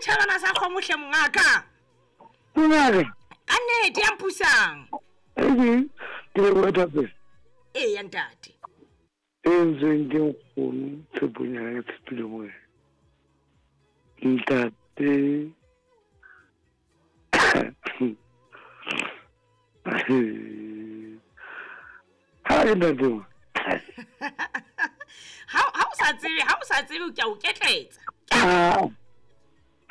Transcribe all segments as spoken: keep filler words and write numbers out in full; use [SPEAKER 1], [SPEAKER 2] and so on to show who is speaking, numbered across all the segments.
[SPEAKER 1] Setšhabana sa kgomohle mongaka.
[SPEAKER 2] Mongaka.
[SPEAKER 1] Ka nnete ya mpusang.
[SPEAKER 2] Ee, ke leboha thapelo.
[SPEAKER 1] Ee ya ntate.
[SPEAKER 2] E ntseng ke nkgono tshepong ya ka ke tshepile mo wena. Ntate. Ha ke ntate wa.
[SPEAKER 1] Ha ha o sa tsebe, ha o sa tsebe ke a o ketletsa.
[SPEAKER 2] Ah.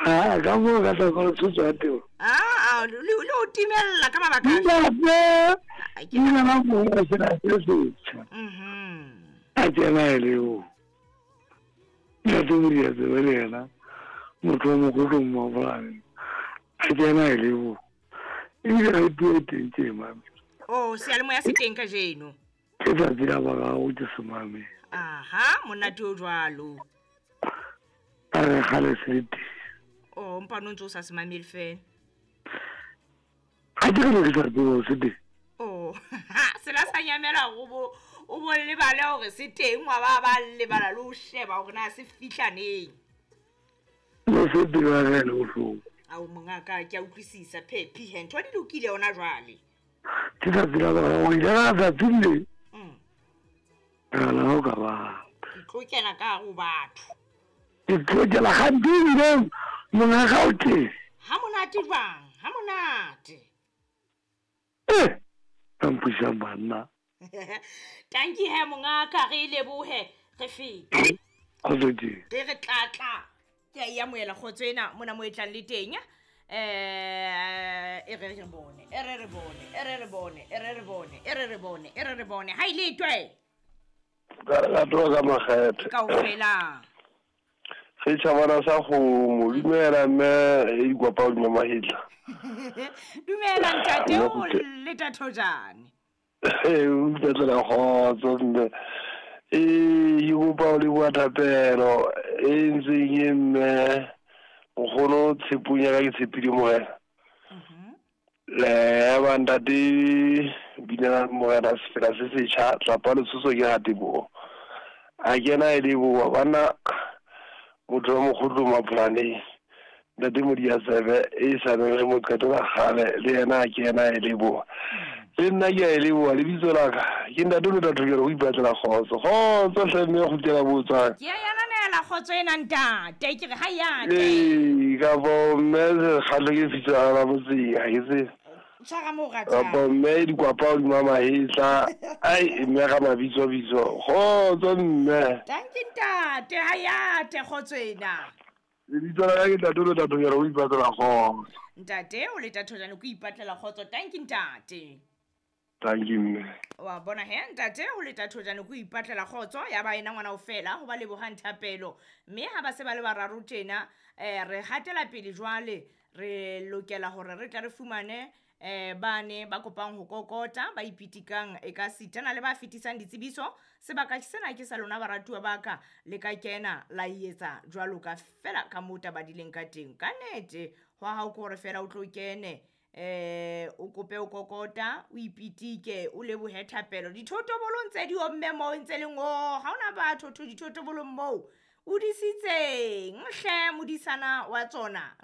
[SPEAKER 2] Ah, ka mo ka tla go tsotsa teng.
[SPEAKER 1] Ah, ah, le le o timella ka mabaka.
[SPEAKER 2] Ntate. Ke nna mo go se na se se.
[SPEAKER 1] Mhm.
[SPEAKER 2] A tsena le o. Ntate o dia tsebe le yena. Motho wa mogolo mo bolane. A tsena le o. Ebile ga puo teng ke mame.
[SPEAKER 1] Oh, seyalemoya se teng kajeno.
[SPEAKER 2] Ke tsatsi la boraro ke se mame.
[SPEAKER 1] Aha, monate o jwalo.
[SPEAKER 2] A re kgale se le teng.
[SPEAKER 1] Oh, mpa no ntse o sa se mamele fela.
[SPEAKER 2] Ha ke re ke sa tsebe se teng.
[SPEAKER 1] Oh, sela sa nyamela go bo o bo lebale hore se teng wa ba ba lebala le o sheba hore na se fihla neng.
[SPEAKER 2] Le se dira re le bohloko.
[SPEAKER 1] Ao mongaka ke a utlwisisa phephi he ntho di lokile hona jwale.
[SPEAKER 2] Ke tsatsi la boraro ile ka tsatsi le.
[SPEAKER 1] Mm.
[SPEAKER 2] Ka la ho ka ba.
[SPEAKER 1] Ke tlo kena ka ho batho.
[SPEAKER 2] Ke tlo kena ga dingwe mongaka o teng.
[SPEAKER 1] Ha monate jwang? Ha monate.
[SPEAKER 2] Eh, ka mpusang banna.
[SPEAKER 1] Tanki he mongaka re lebohe re fete.
[SPEAKER 2] Kgotso ke.
[SPEAKER 1] Re re tlatla. Ke a e amohela kgotso ena mona mo e tlang le teng. Eh, e re re bone, e re re bone, e re re bone, e re re bone, e re re bone, e re re bone. Ha ile twe.
[SPEAKER 3] Ka re ka ka makgethe.
[SPEAKER 1] Kaofela.
[SPEAKER 3] Setšhabana sa kgomo, dumela mme e dikopa o mahetla.
[SPEAKER 1] Dumela ntate o le tathojane.
[SPEAKER 3] Eh, o mpetlela kgotso mme. Eh, ke kopa o leboha thapelo e ntseng e mme nkgono tshepong ya ka ke tshepile morena.
[SPEAKER 1] Mhm.
[SPEAKER 3] Le ba ntate binela morena sefela se setjha tlapa letshoso ke rateboho. A kena e leboha bana motho wa mokgotlo mapolaneng ntate Modiasebe e sa le mo qetola kgale le yena a kena e leboha. Le nna ke a e leboha lebitso la ka ke ntate o tla thokela ho ipatlela kgotso. Kgotso hle mme kgutlela botswang.
[SPEAKER 1] Ke a ananela kgotso ena ntate ke re ha ya te.
[SPEAKER 3] Ee, ka bo mme kgale ke fihla la motseng ha ke tsebe.
[SPEAKER 1] Tshwara mo ratang.
[SPEAKER 3] Kapo mme dikwapa hodima mahetla. Ai mme ga mabitso bitso. Kgotso mme.
[SPEAKER 1] Tanki ntate ha ya te kgotso ena.
[SPEAKER 3] Lebitso la ka ke ntate o tla thokela ho ipatlela kgotso.
[SPEAKER 1] Ntate o le tathojane ko ipatlela kgotso. Tanki ntate.
[SPEAKER 3] Thank you mme.
[SPEAKER 1] Wa bona he ntate o le tathojane ko ipatlela kgotso ya ba ena ngwana o fela ho ba lebohang thapelo mme ha ba se ba le bararo tjena eh re hatela pele jwale re lokela hore re tla re fumane eh bane ba kopang ho kokota ba ipitikang e ka sitana le ba fetisang ditsebiso sebaka sena ke sa lona baratuwa ba ka le ka kena la etsa jwalo ka fela ka mota ba dileng ka teng ka nete ho ha o kore fela o tlo kene eh o kope o kokota o ipitike o lebohe thapelo dithotobolong tse di omme moo ntse leng o ha ona batho tho dithotobolong moo o disitseng hle modisana wa tsona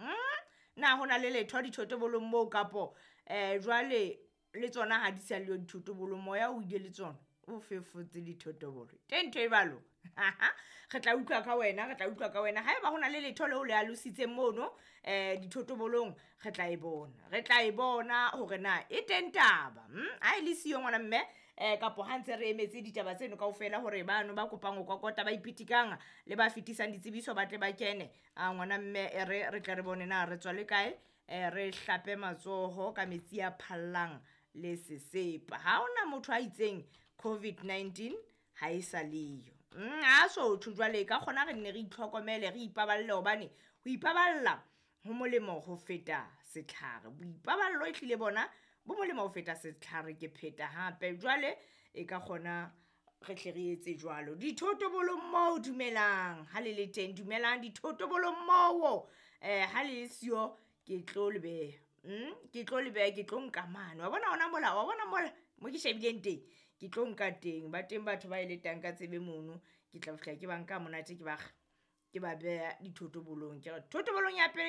[SPEAKER 1] na hona le letho dithotobolong moo kapo eh jwale le tsona ha di sa le dithotobolong moya o ile le tsona o fefotse dithotobolo teng ntho e balo re tla utlwa ka wena re tla utlwa ka wena haeba hona le letho leo le alositseng mono eh dithotobolong re tla e bona re tla e bona hore na e teng taba ha e le siyo ngwana mme eh kapo ha ntse re emetse ditaba tseno kaofela hore bano ba kopang ho kokota ba ipitikang le ba fetisang ditsebiso ba tle ba kene a ngwana mme e re re tla re bone na re tswa le kae eh re hlape matsoho ka metsi a phallang le sesepa ha ona motho a itseng covid nineteen ha e sa leyo mm a so tho jwale ka kgona re nne re itlhokomele re ipaballe hobane ho ipaballa ho molemo ho feta setlhare boipaballo e tlile bona bo molemo ho feta setlhare ke pheta hape jwale e ka kgona re tle re etse jwalo dithotobolong moo dumelang ha le le teng dumelang dithotobolong moo eh ha le siyo ke tlo le beha mm ke tlo le beha ke tlo nka mane wa bona ona mola wa bona mola mo ke shebileng teng ke tlo nka teng ba teng batho ba eletang ka tsebe mono ke tla fihla ke ba nka monate ke ba ke ba beha dithotobolong ke re thotobolong ya pele.